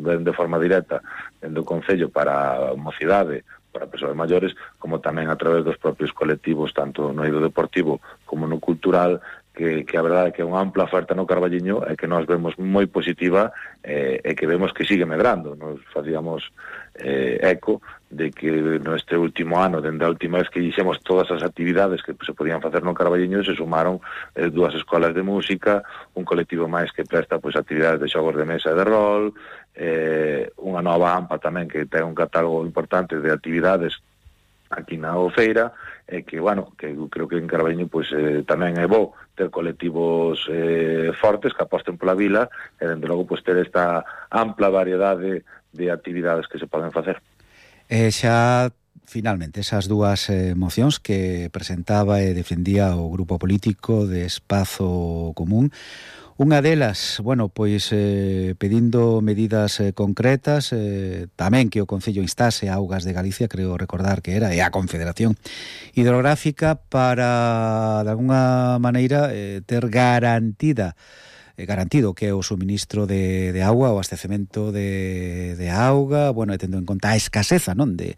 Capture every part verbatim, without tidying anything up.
ben de forma directa dentro do Concello para a mocidade, para persoas maiores, como tamén a través dos propios colectivos, tanto no eido deportivo como no cultural, que, que a verdade é que é unha ampla oferta no Carballiño e que nós vemos moi positiva eh, e que vemos que sigue medrando. Nos facíamos eh, eco de que neste último ano, dende a última vez que hicimos todas as actividades que se podían facer no Carballiño, se sumaron eh, dúas escolas de música, un colectivo máis que presta pois actividades de xogos de mesa e de rol, eh, unha nova AMPA tamén que ten un catálogo importante de actividades aquí na Feira, e que, bueno, que eu creo que en Carballiño pois, eh, tamén é bo ter colectivos eh, fortes que aposten pola vila e, dende logo, pois, ter esta ampla variedade de actividades que se poden facer. E xa, finalmente, esas dúas eh, mocións que presentaba e defendía o grupo político de Espazo Común, unha delas, bueno, pois eh, pedindo medidas eh, concretas, eh, tamén que o Concello instase a Augas de Galicia, creo recordar que era, e a Confederación Hidrográfica para, de alguna maneira, eh, ter garantida eh, garantido que o suministro de, de agua, o abastecemento de, de auga, bueno, e tendo en conta a escaseza, non, de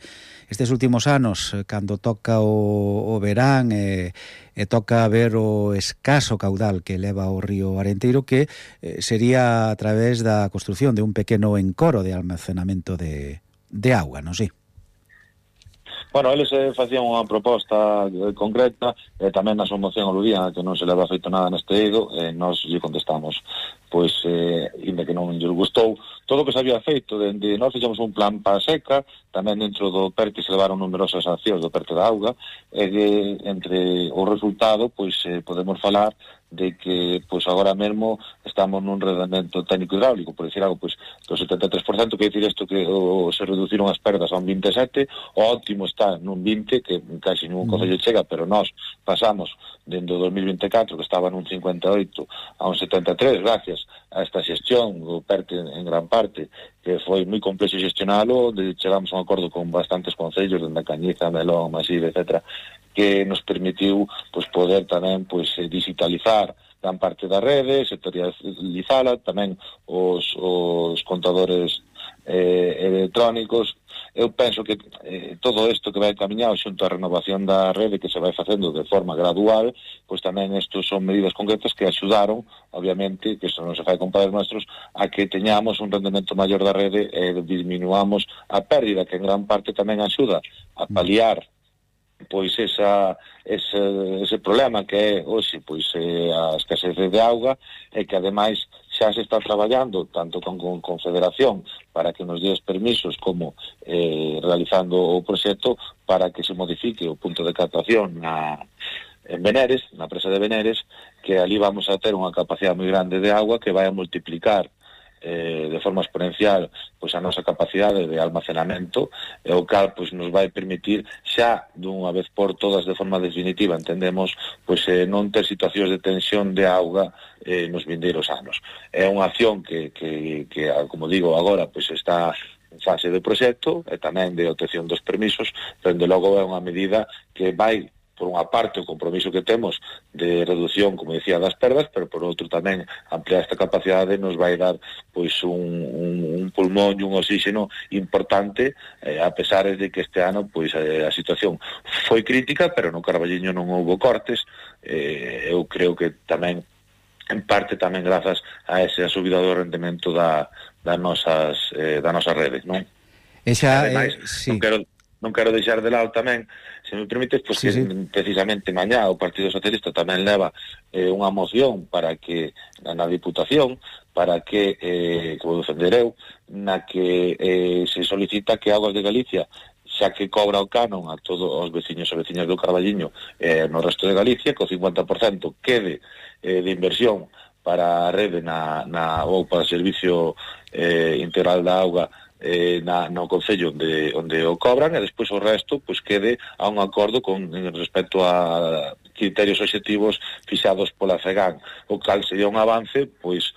estes últimos anos, cando toca o, o verán e, e toca ver o escaso caudal que leva o río Arenteiro, que eh, sería a través da construción de un pequeno encoro de almacenamento de, de auga, non sei? Bueno, eles eh, facían unha proposta eh, concreta, e eh, tamén na súa moción aludían que non se leva feito nada neste eido, e eh, nós lle contestamos, pois, eh, inda que non lle gustou, todo o que se había feito, dende nós fixemos un plan para a seca, tamén dentro do PERTE se levaron numerosas accións do PERTE da auga, e eh, entre o resultado, pois, eh, podemos falar de que, pois, agora mesmo estamos nun rendemento técnico hidráulico, por decir algo, pois, do setenta e tres por ciento, que decir isto que o, se reduciron as perdas a un vinte e sete, o óptimo está nun vinte, que casi ningún concello chega, pero nós pasamos dende o dos mil vinte e catro, que estaba nun cincuenta e oito, a un setenta e tres, gracias a esta xestión do PERTE en gran parte, que foi moi complexo xestionalo, onde chegamos a un acordo con bastantes concellos, dende a Cañiza, Melón, Maside, etcétera, que nos permitiu, pois, poder tamén, pois, digitalizar gran parte da rede, sectorializala, tamén os, os contadores eh, electrónicos. Eu penso que eh, todo isto que vai camiñado xunto á renovación da rede que se vai facendo de forma gradual, pois tamén estos son medidas concretas que axudaron, obviamente, que isto non se fai con padres nuestros, a que teñamos un rendemento maior da rede e disminuamos a pérdida, que en gran parte tamén axuda a paliar pois esa, ese, ese problema que é hoxe pois eh, a escasez de auga, e que ademais xa se está traballando tanto con, con Confederación para que nos dé os permisos como eh, realizando o proxecto para que se modifique o punto de captación na, en Veneres, na presa de Veneres, que ali vamos a ter unha capacidade moi grande de agua que vai a multiplicar Eh, de forma exponencial pois a nosa capacidade de almacenamento, e o cal pois nos vai permitir xa dunha vez por todas, de forma definitiva, entendemos, pois eh, non ter situacións de tensión de auga eh, nos vindeiros anos. É unha acción que, que, que como digo agora, pois está en fase de proxecto e tamén de obtención dos permisos, pero de logo é unha medida que vai, por unha parte, o compromiso que temos de reducción, como decía, das perdas, pero por outro tamén ampliar esta capacidade nos vai dar pois un, un, un pulmón e un oxígeno importante, eh, a pesar de que este ano pois eh, a situación foi crítica, pero no Carballiño non houbo cortes. eh, eu creo que tamén en parte tamén grazas a esa subida do rendemento da, das nosas eh, da nosa rede, non? Esa, Ademais, eh, sí. non quero non quero deixar de lado tamén, se me permites, pois sí, que sí. precisamente mañá o Partido Socialista tamén leva eh, unha moción para que na Diputación, para que, eh, que vou defender eu, na que eh, se solicita que Augas de Galicia, xa que cobra o canon a todos os veciños e veciñas do Carballiño eh, no resto de Galicia, que o cincuenta por cento quede eh, de inversión para a rede na, na, ou para o servicio eh, integral da auga eh, na, no Concello onde, onde o cobran, e despois o resto pois quede a un acordo con respecto a criterios obxectivos fixados pola FEGAN, o cal sería un avance pois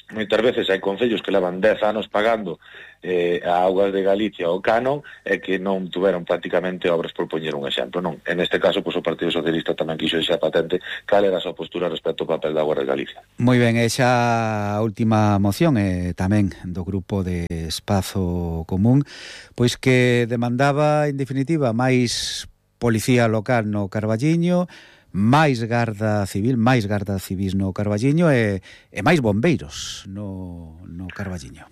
moitas veces hai concellos que levan dez anos pagando eh, a Augas de Galicia o canon e que non tuveron prácticamente obras, por poñer un exemplo, non? En este caso, pois, o Partido Socialista tamén quixo deixar patente cal era a súa postura respecto ao papel da Augas de Galicia. Moi ben, e xa a última moción é tamén do grupo de Espazo Común, pois que demandaba, en definitiva, máis policía local no Carballiño, máis garda civil, máis garda civis no Carballiño e, e máis bombeiros no, no Carballiño.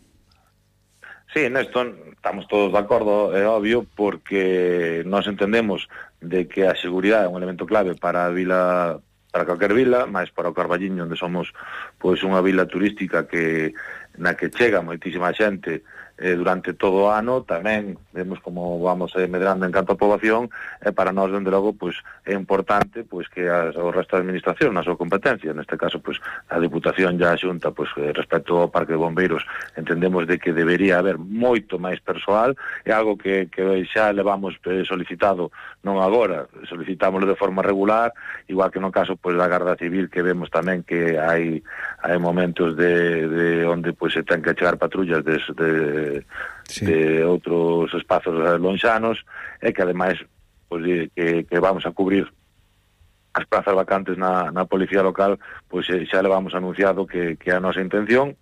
Sí, nesto estamos todos de acordo, é obvio, porque nós entendemos de que a seguridade é un elemento clave para a vila, para calquer vila, máis para o Carballiño, onde somos pois unha vila turística que na que chega moitísima xente eh, durante todo o ano. Tamén vemos como vamos eh, medrando en canto a poboación, e eh, para nós, dende logo, pois, é importante pois que as, o resto da administración, na súa competencia, neste caso, pois, a Diputación e a Xunta, pois, eh, respecto ao Parque de Bombeiros, entendemos de que debería haber moito máis persoal, é algo que, que xa levamos eh, solicitado, non agora, solicitámoslo de forma regular, igual que no caso pois da Garda Civil, que vemos tamén que hai hai momentos de, de onde pois se ten que chegar patrullas de, de, sí. de outros espazos lonxanos, e que ademais pois, que, que vamos a cubrir as prazas vacantes na, na policía local, pois xa le vamos anunciado que, que é a nosa intención,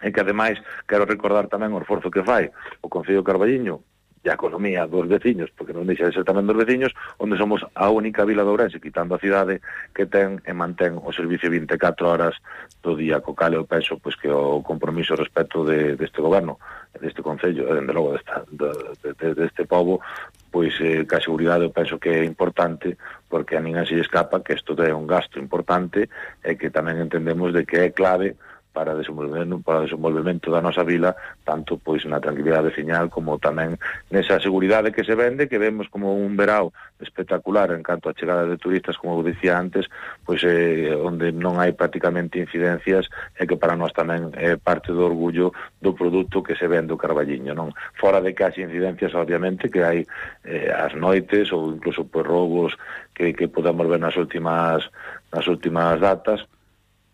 e que ademais quero recordar tamén o esforzo que fai o Concello de Carballiño e a economía dos veciños, porque non deixa de ser tamén dos veciños, onde somos a única vila de Ourense, quitando a cidade, que ten e mantén o servicio vinte e catro horas do día, co cal eu penso pois, que o compromiso respecto de, deste goberno, deste concello, e dende logo desta, de, de, deste pobo, pois eh, que a seguridade eu penso que é importante, porque a ninguén se lle escapa que isto é un gasto importante, e que tamén entendemos de que é clave para desenvolvemento, para o desenvolvemento da nosa vila, tanto pois na tranquilidade veciñal como tamén nesa seguridade que se vende, que vemos como un verao espectacular en canto a chegada de turistas, como eu dicía antes, pois eh, onde non hai prácticamente incidencias, e que para nós tamén é parte do orgullo do produto que se vende o Carballiño, non? Fora de que hai incidencias, obviamente, que hai eh, as noites ou incluso pois roubos que, que podemos ver nas últimas nas últimas datas,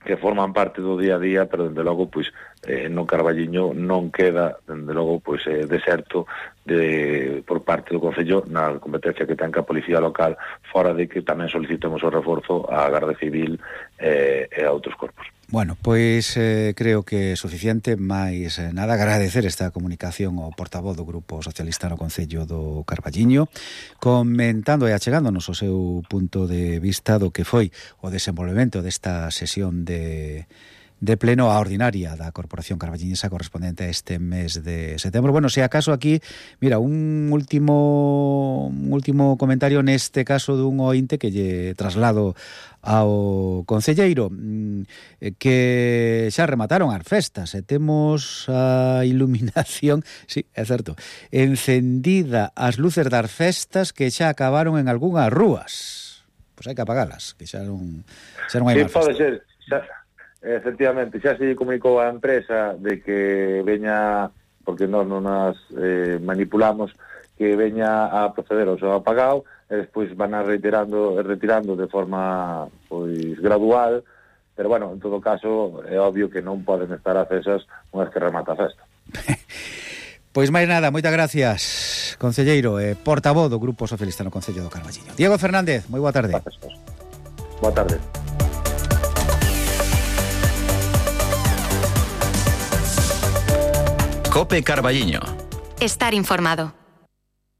que forman parte do día a día, pero dende logo pois eh, no Carballiño non queda dende logo pois eh, deserto de por parte do Concello na competencia que ten a Policía Local, fora de que tamén solicitemos o reforzo á Garda Civil eh, e a outros corpos. Bueno, pois eh, creo que é suficiente, máis eh, nada, agradecer esta comunicación ao portavoz do Grupo Socialista no Concello do Carballiño, comentando e achegándonos o seu punto de vista do que foi o desenvolvemento desta sesión de... de pleno a ordinaria da Corporación Carballiñesa correspondente a este mes de setembro. Bueno, se acaso aquí, mira, un último un último comentario neste caso dun ointe que lle traslado ao concelleiro, que xa remataron as festas e temos a iluminación, sí, é certo, encendida as luces das festas que xa acabaron en algunhas rúas. Pois hai que apagalas, que xa non, xa non hai sí, máis festa. Pode ser, xa... Efectivamente, xa se comunicou a empresa de que veña, porque nós non nas eh, manipulamos, que veña a proceder ao seu apagado, e despois van a retirando, retirando de forma pois gradual, pero bueno, en todo caso é obvio que non poden estar acesas unhas que remata a festa. Pois máis nada, moitas gracias, concelleiro e portavoz do Grupo Socialista no Concello do Carballiño. Diego Fernández, moi boa tarde. Gracias. Boa tarde. COPE Carballiño. Estar informado.